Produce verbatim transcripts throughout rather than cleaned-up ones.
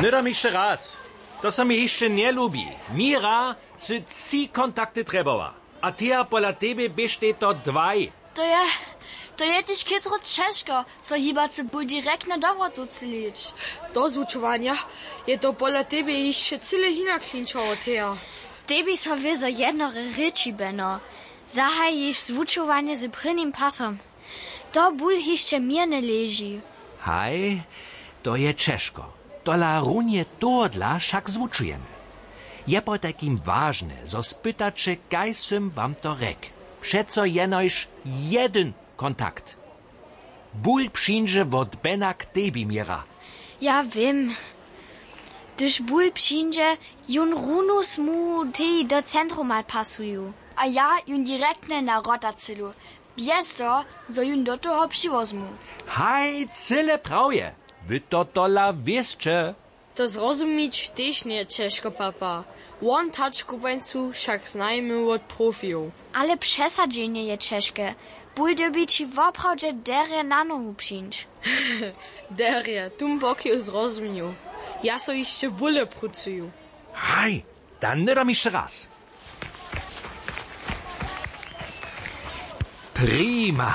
Hnydom hišće raz. To so mi hišće njelubi. Mira sy tři kontakty trjebała. A teja pola tebje běštej to dwaj. To je, to je tež chytro ćežko, so hibacy ból direktnje do wrotow třělić. Do zwučowanja je to pola tebje hišće cyle hinak klinčało, teja. Tebi so wězo jednore rěči, beno. Zahajiš zwučowanje z prěnim pasom. To ból hišće měrnje leži. Haj, to je ćežko. Tola runje tohodla wšak zwučujemy. Je potajkim wažne, zo spytaće, kaž sym wam to rjekł. Přeco jenož jedyn kontakt. Ból přińdźe wot bena k tebi, mira. Ja wěm. Hdyž ból přińdźe, jón runusmu tej do centruma pasuju. A ja jón direktnje na wrotacylu, bjez toho, zo jón do toho přiwozmu. Haj, cyle prawje. Wy to tola wěsće. To zrozumić tež njeje ćežko, papa. Won tačkopańcu wšak znajimy wot profijow. Ale přesadźenje je ćežke. Ból dyrbi ći woprawdźe derje na nohu přińć. Derje, tumpoki zrozumił. Ja so hišće bóle prucuju. Haj, da hnydom hišće raz. Prima.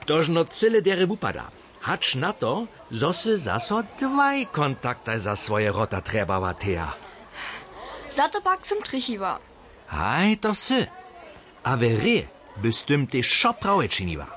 To žno cyle derje wupada. Hač na to, zo sy zaso dwaj kontaktaj za swoje wrota trjebała, teja. Za to pak sym trjechiła. Haj, to sy. A we hrě by z tym tež wšo prawje činiła.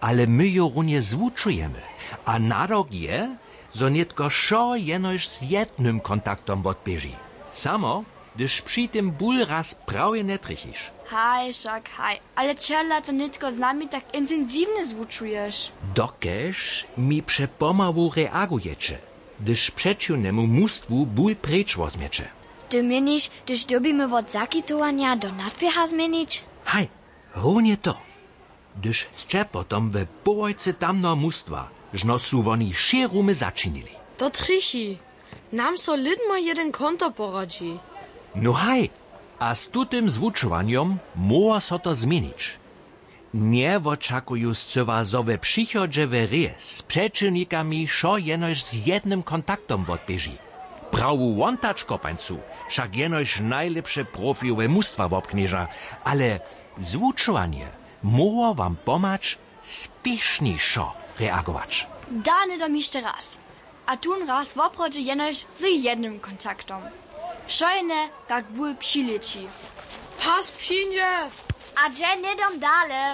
Ale my ju runje zwučujemy. A nadawk je, zo nětko wšo jenož z jednym kontaktom wotběži. Samo hdyž při tym ból raz prawje njetrjechiš. Haj, wšak haj. Ale čehodla to nětko z nami tak intensiwnje zwučuješ? Dokelž mi přepomału reagujeće, hdyž přećiwnemu mustwu ból preč wozmjeće. Ty měniš, hdyž dyrbimy wot zakitowanja do nadběha změnić? Haj, runje to. Hdyž sće potom we połojcy tamneho mustwa, žno su woni wšě rumy začinili. To trjechi. Nam so lědma jedyn konto poradźi. No haj, a z tutym zwučowanjom móhło so to změnić. Njewočakuju scyła, zo we přichodźe we hrě z přećiwnikami wšo jenož z jednym kontaktom wotběži. Prawu wontačkopańcu wšak jenož najlěpše profilowe mustwa wobknježa, ale zwučowanje móhło wam pomhać spěšnišo reagować. Da hnydom hišće raz. A tón raz woprawdźe jenož z jednym kontaktom. Wšojene, kak ból přilěči. Pas přińdźe! A dźe hnydom dale.